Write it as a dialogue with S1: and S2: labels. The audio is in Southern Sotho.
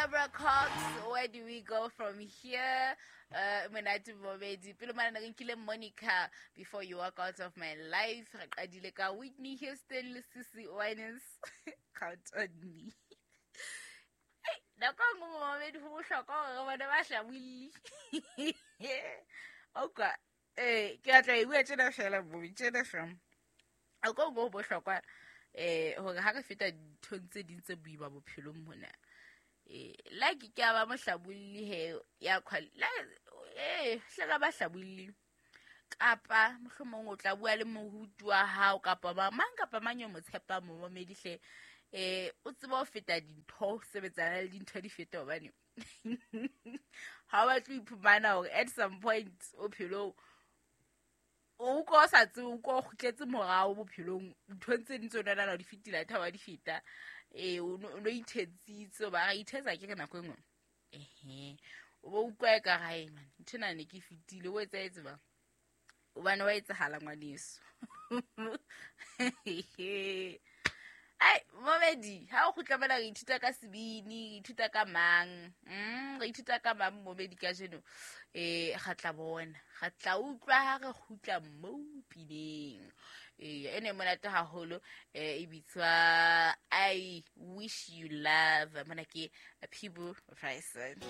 S1: Barbara Cox, Where Do We Go From Here? Monate bobedi. Pele mane re nkile Monica, Before You Walk Out of My Life. Re qadile ka Whitney Houston le Sissy Winans, Count on Me. Hey, nako e nngwe momamedi ho bohlokwa hore re bone ba hlabolli. Okay. Eh, ke batla e bua tjena fela bobe, tjena fela. Nako e nngwe ho bohlokwa hore ha re feta dinthong tse ding tse boima bophelong mona. Like ke a ba mohlabolli he ya la hle ka ba hlabolli. Kapa mohlomong o tla bua le moruti wa hao kapa ba mang kapa mang yo mo tshepang momamedi hle. O tsebe ho feta dintho, sebetsana le dintho di feta hobane ha o batle ho iphumana hore at some point bophelong o utlwa o sa tsebe, o utlwa o kgutletse morao bophelong, nthong tse ding tse o nahana di fetile, athe ha wa di feta. O no ithetsitse, o ba ra ithetsa ke re nako e nngwe. Ehe, o bo utlwa ekare hae man, nthwena ne ke fetile, o etsahetse bang? Hobane wa etsahala ngwaneso. Ai, momedi, ha o kgutla mona re ithuta ka sebini, re ithuta ka mang? Re ithuta ka mang momedi kajeno? Ga tla bona, ga tla utlwa ha re kgutla mo pineng. Ene monate haholo, e bitswa I Wish You Love. Mona ke Peabo Bryson.